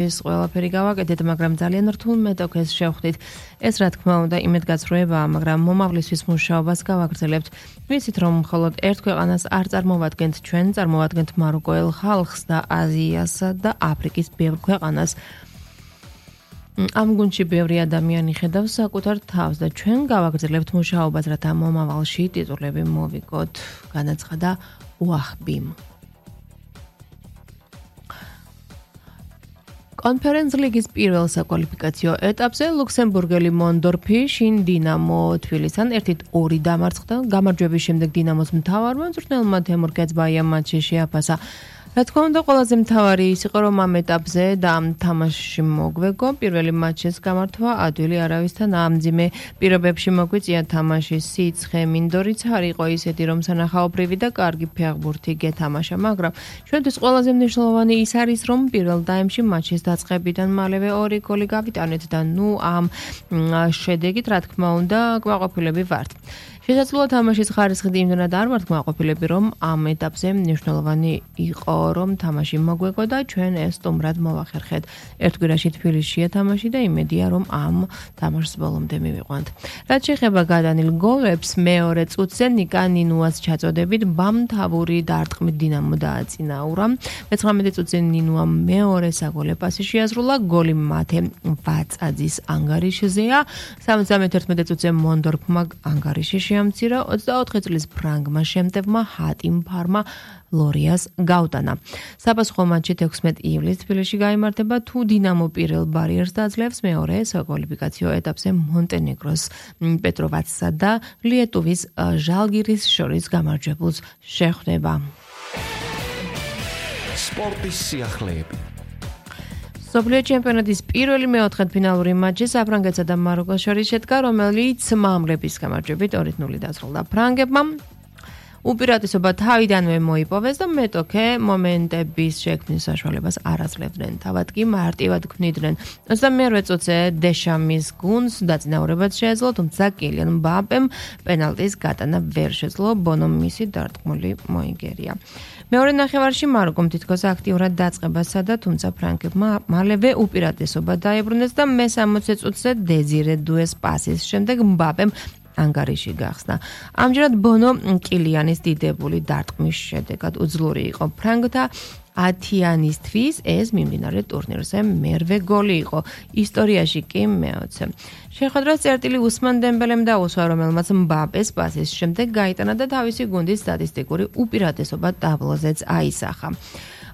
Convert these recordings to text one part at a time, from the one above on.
ეს ყველაფერი გავაკეთეთ, მაგრამ ძალიან რთულ მეტოქეს შევხვდით. ეს რა თქმა უნდა იმედგაცრუებაა, მაგრამ მომავლისთვის მუშაობას გავაგრძელებთ. ვიცით, რომ მხოლოდ ერთ ქვეყანას არ წარმოვადგენთ ჩვენ, წარმოვადგენთ მაროკოელ ხალხს და აზიასა და აფრიკის ბევრ ქვეყანას. ამ გუნდში ბევრი ადამიანი ხედავს საკუთარ თავს და ჩვენ გავაგრძელებთ მუშაობას, რათა მომავალში ტიტულები მოვიგოთ, განაცხადა უახბიმ. კონფერენც ლიგის პირველ საკვალიფიკაციო ეტაპზე ლუქსემბურგელი მონდორფი შინ დინამო თბილისთან 1-2 დამარცხდა. გამარჯვების შემდეგ დინამოს მთავარმა მწვრთნელმა თემურ კეცბაიამ მატჩი შეაფასა. რა თქმა უნდა, ყველაზე მთავარი ის იყო, რომ ამ ეტაპზე და ამ თამაშში მოგვეგო პირველი მატჩის გამართვა ადვილი არავისთან ამძიმე პირობებში მოგვიწია თამაშის სიცხე, მინდორიც არ იყო ისეთი, რომ სანახაობრივი და კარგი ფეხბურთი გეთამაშა, მაგრამ ჩვენთვის ყველაზე მნიშვნელოვანი ის არის, რომ პირველ დაემში მატჩის დაწყებიდან მალევე 2 გოლი გავიტანეთ და ამ შედეგით, რა თქმა უნდა, კმაყოფილები ვართ. შესაძლოა თამაშის ხარისხით იმდენად არ ვართ კმაყოფილები, რომ ამ ეტაპზე მნიშვნელოვანი იყო, რომ თამაში მოგვეგო და ჩვენ ეს სტუმრად მოვახერხეთ. ერთ კვირაში თბილისშია თამაში და იმედია, რომ ამ თამაშს ბოლომდე მივიყვანთ. რაც შეეხება გადანილ გოლებს, მეორე წუთზე ნიკა ნინუას ჩაწოდებით ბამთავური დარტყმით დინამო დააწინაურა. 19 წუთზე ნინუამ მეორე საგოლე პასი შეაზრულა, გოლი მათე ვაწაძის ანგარიშზეა. 71 წუთზე მონდორფმა ანგარიში შეამცირა, 24 წლის ფრანგმა შემტევმა ჰატიმ ფარმა ლორიას გავტანა. საპასუხო მატჩი 16 ივლისს თბილისში გაიმართება, თუ დინამო პირველ ბარიერს დაძლევს, მეორე საკვალიფიკაციო ეტაპზე მონტენეგროს პეტროვაცსა და ლიეტუვის ჟალგირის შორის გამარჯვებულს შეხვდება. სპორტის სიახლეები. მსოფლიო ჩემპიონატის პირველი მეოთხედფინალური მატჩი საფრანგეთსა და მაროკოს შორის შედგა, რომელიც მამლების გამარჯვებით 2-0 დასრულდა. ფრანგებმა უპირატესობა თავიდანვე მოიპოვეს და მეტოქე მომენტების შექმნის საშუალებას არ აძლევდნენ. თავად კი მარტივად ქმნიდნენ. 22 წუთზე დეშამის გუნდს დაწინაურებაც შეეძლო, თუმცა კილიან მბაპემ პენალტის გატანა ვერ შეძლო, ბონომ მისი დარტყმული მოიგერია. მეორე ნახევარში მაროკომ თითქოს აქტიურად დაწყებასა და თუმცა ფრანგებმა მალევე უპირატესობა დაებრუნეს და მე-60 წუთზე დეზირე დუეს პასის შემდეგ მბაპემ ანგარიში გახსნა. ამჯერად ბონო კილიანის დიდებული დარტყმის შედეგად უძლური იყო ფრანგთა ათიანისთვის, ეს მიმდინარე ტურნირზე მერვე გოლი იყო, ისტორიაში კი მე-20. შეხვედრას წერტილი უსმან დემბელემ დაუსვა, რომელმაც მბაპეს პასის შემდეგ გაიტანა და თავისი გუნდის სტატისტიკური უპირატესობა ტაბლოზეც აისახა.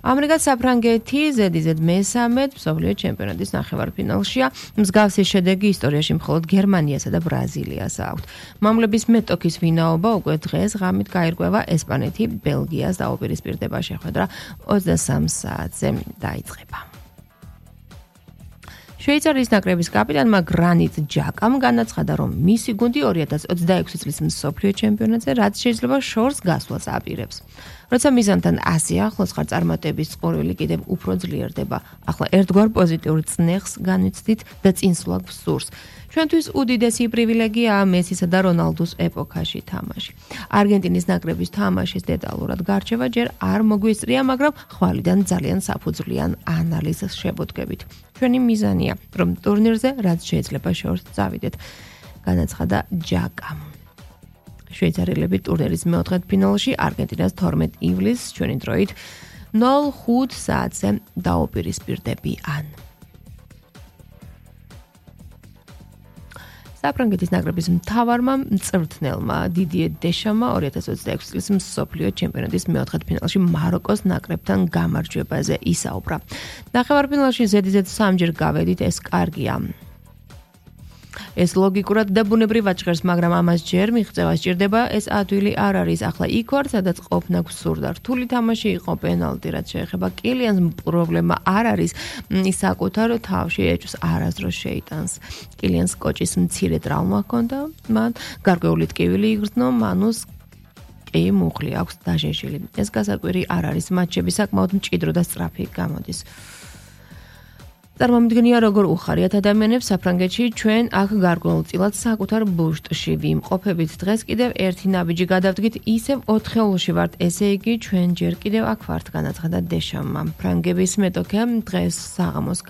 ამრიგად საფრანგეთი ზედიზედ მე-13 მსოფლიო ჩემპიონატის ნახევარფინალშია. მსგავსი შედეგი ისტორიაში მხოლოდ გერმანიასა და ბრაზილიას აქვთ. მამლების მეტოქის ვინაობა უკვე დღეს ღამით გაირკვევა. ესპანეთი ბელგიას დაუპირისპირდება, შეხვედრა 23 საათზე დაიწყება. შვეიცარიის ნაკრების კაპიტანმა გრანიტ ჯაკამ განაცხადა, რომ მისი გუნდი 2026 წლის მსოფლიო ჩემპიონატზე რაც შეიძლება შორს გასვლას აპირებს. როცა მიზანთან ასე ახლოს ხარ, წარმატების წყურვილი კიდევ უფრო ძლიერდება. ახლა ერთგვარ პოზიტიურ წნეხს განვიცდით და წინსვლა გვსურს. ჩვენთვის უდიდესი პრივილეგიაა მესისა და რონალდუს ეპოქაში თამაში. არგენტინის ნაკრების თამაშის დეტალურად გარჩევა ჯერ არ მოგვისწრია, მაგრამ ხვალიდან ძალიან საფუძვლიან ანალიზს შევუდგებით. ჩვენი მიზანია, რომ ტურნირზე რაც შეიძლება შორს წავიდეთ, განაცხადა ჯაკამ. შვეიცარიელები ტურნირის მეოთხედფინალში არგენტინას 12 ივლისს ჩვენი დროით 05 საათზე დაუპირისპირდებიან. საფრანგეთის ნაკრების მთავარმა მწვრთნელმა დიდიე დეშამმა 2026 წლის მსოფლიო ჩემპიონატის მეოთხედფინალში მაროკოს ნაკრებთან გამარჯვებაზე ისაუბრა. ნახევარფინალში ზედიზედ 3-ჯერ გავედით, ეს კარგია. ეს ლოგიკურად და ბუნებრივად ჟღერს, მაგრამ ამას ჯერ მიღწევა სჭირდება, ეს ადვილი არ არის. ახლა იქ ვარ, სადაც ყოფნა გვსურდა. რთული თამაში იყო, პენალტი, რაც შეეხება კილიანს, პრობლემა არ არის. ის საკუთარ თავში ეჭვს არასდროს შეიტანს. კილიანს კოჭის მცირე ტრავმა ჰქონდა, მან გარკვეული ტკივილი იგრძნო, მანუს კი მუხლი აქვს დაჟეშილი. ეს გასაკვირი არ არის, მატჩები საკმაოდ მჭიდრო და სწრაფი გამოდის. წარმომიდგენია, როგორ უხარიათ ადამიანებს საფრანგეთში ჩვენ აქ გარკვეულწილად საკუთარ ბუშტში ვიმყოფებით. დღეს კიდევ ერთი ნაბიჯი გადავდგით, ისევ 4-ში ვართ, ესე იგი ჩვენ ჯერ კიდევ აქ ვართ, განაცხადა დეშამმა. ფრანგების მეტოქე დღეს საღამოს